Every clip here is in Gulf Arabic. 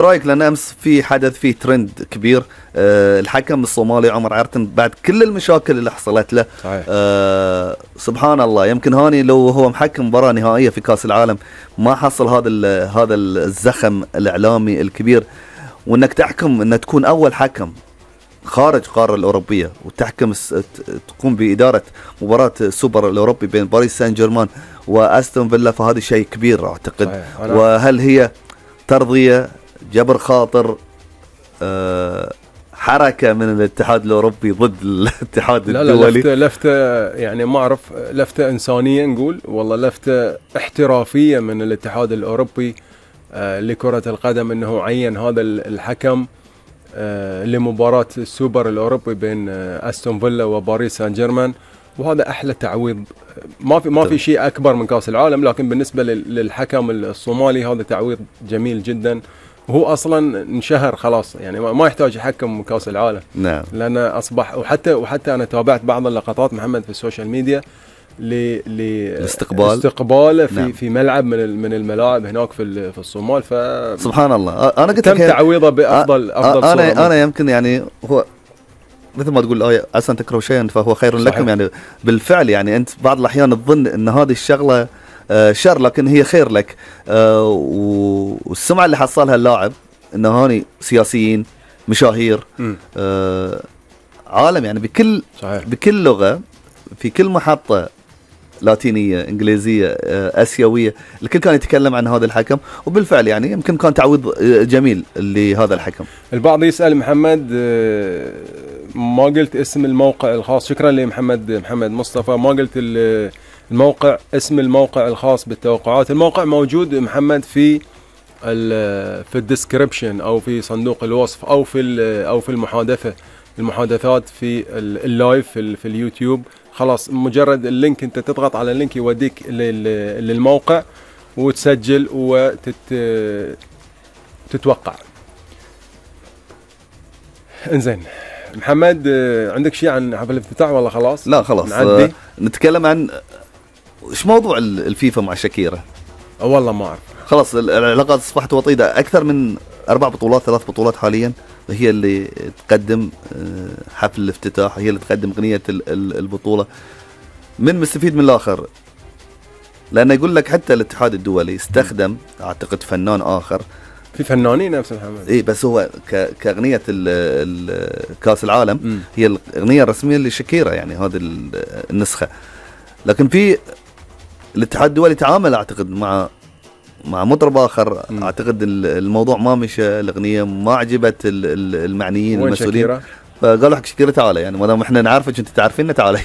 رايك؟ لان امس في حدث، في ترند كبير، الحكم الصومالي عمر عرتن بعد كل المشاكل اللي حصلت له، صحيح. سبحان الله، يمكن هاني لو هو محكم مباراة نهائية في كاس العالم ما حصل هذا الزخم الاعلامي الكبير، وانك تحكم انك تكون اول حكم خارج القاره الاوروبيه وتحكم تقوم باداره مباراه السوبر الاوروبي بين باريس سان جيرمان واستون فيلا، فهذا شيء كبير اعتقد. وهل هي ترضيه، جبر خاطر، حركه من الاتحاد الاوروبي ضد الاتحاد الدولي؟ لا، لفته يعني ما اعرف، لفته انسانيه نقول، والله لفته احترافيه من الاتحاد الاوروبي لكره القدم، انه عين هذا الحكم لمباراة السوبر الأوروبي بين أستون فيلا وباريس سان جيرمان. وهذا أحلى تعويض، ما في شيء أكبر من كأس العالم، لكن بالنسبة للحكم الصومالي هذا تعويض جميل جدا. وهو أصلا انشهر خلاص، يعني ما يحتاج يحكم كأس العالم. نعم. لأنه أصبح، وحتى أنا تابعت بعض اللقطات محمد في السوشيال ميديا لاستقباله نعم. في ملعب من الملاعب هناك في الصومال. سبحان الله. انا قلت تم تعويضه بافضل انا يمكن يعني هو مثل ما تقول الآية عسى أن تكرهوا شيئا فهو خير لكم، يعني بالفعل يعني أنت بعض الأحيان تظن أن هذه الشغلة شر لكن هي خير لك. والسمعة اللي حصلها اللاعب أنه هاني سياسيين مشاهير عالم، يعني بكل لغة في كل محطة لاتينية انجليزية اسيوية الكل كان يتكلم عن هذا الحكم، وبالفعل يعني يمكن كان تعويض جميل لهذا الحكم. البعض يسأل محمد ما قلت اسم الموقع الخاص، شكرا لمحمد مصطفى، ما قلت الموقع، اسم الموقع الخاص بالتوقعات. الموقع موجود محمد في الديسكريبشن او في صندوق الوصف او في المحادثات في اللايف في اليوتيوب. خلاص مجرد اللينك، انت تضغط على اللينك يوديك للموقع وتسجل وتتوقع. انزين محمد، عندك شيء عن حفل الافتتاح ولا خلاص؟ لا خلاص، نتكلم عن ايش موضوع الفيفا مع شاكيرا. والله ما اعرف، خلاص العلاقات اصبحت وطيده، اكثر من 4 بطولات 3 بطولات حاليا هي اللي تقدم حفل الافتتاح، هي اللي تقدم غنية البطولة. من مستفيد من الآخر؟ لأنه يقول لك حتى الاتحاد الدولي استخدم أعتقد فنان آخر، في فنانين نفس محمد، إيه بس هو كأغنية كأس العالم هي الأغنية الرسمية لشاكيرا، يعني هذه النسخة. لكن في الاتحاد الدولي تعامل أعتقد مع مطرب آخر، أعتقد الموضوع ما مشى، الأغنية ما عجبت المعنيين المسؤولين، فقالوا حق شاكيرا تعالى، يعني ما دام احنا نعرفك انت تعرفيننا تعالى.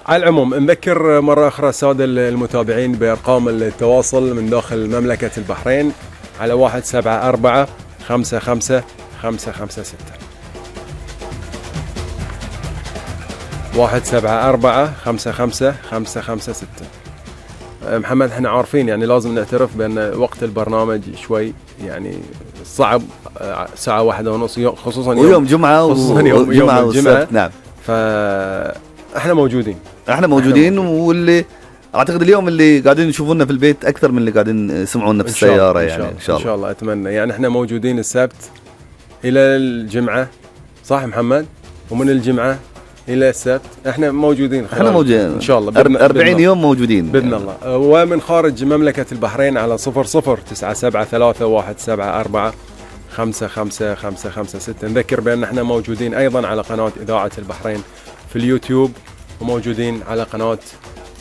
على العموم نذكر مرة أخرى السادة المتابعين بأرقام التواصل من داخل مملكة البحرين على 174 55 556 174 55 556. محمد احنا عارفين يعني لازم نعترف بأن وقت البرنامج شوي يعني صعب، ساعة 1:30 خصوصا يوم جمعة وجمعة والسبت. نعم، فاحنا موجودين واللي اعتقد اليوم اللي قاعدين يشوفونا في البيت اكثر من اللي قاعدين يسمعونا في السيارة، يعني ان شاء الله اتمنى. يعني احنا موجودين السبت الى الجمعة، صح محمد؟ ومن الجمعة الى السبت احنا موجودين، ان شاء الله 40 يوم موجودين باذن الله. ومن خارج مملكه البحرين على 00973174 55556. نذكر بان احنا موجودين ايضا على قناه اذاعه البحرين في اليوتيوب، وموجودين على قناه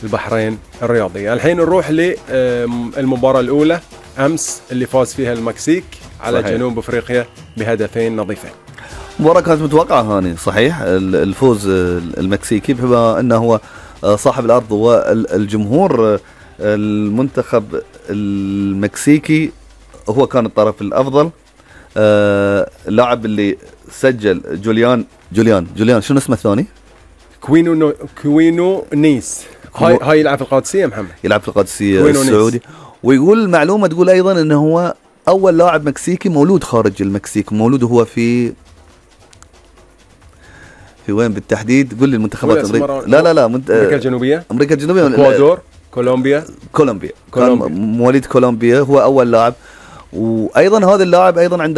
البحرين الرياضيه. الحين نروح للمباراه الاولى امس اللي فاز فيها المكسيك على صحيح. جنوب افريقيا بهدفين نظيفين. مباراة كانت متوقعة هاني، صحيح الفوز المكسيكي بما انه هو صاحب الارض والجمهور. المنتخب المكسيكي هو كان الطرف الافضل. اللاعب اللي سجل جوليان شنو اسمه الثاني؟ كوينو نيس. هاي يلعب في القادسية محمد، يلعب في القادسية السعودي. ويقول المعلومة تقول ايضا انه هو اول لاعب مكسيكي مولود خارج المكسيك، مولود هو في وين بالتحديد؟ قول لي المنتخبات أمريكا. لا امريكا الجنوبيه، اكوادور، كولومبيا كان مواليد كولومبيا، هو اول لاعب. وايضا هذا اللاعب ايضا عنده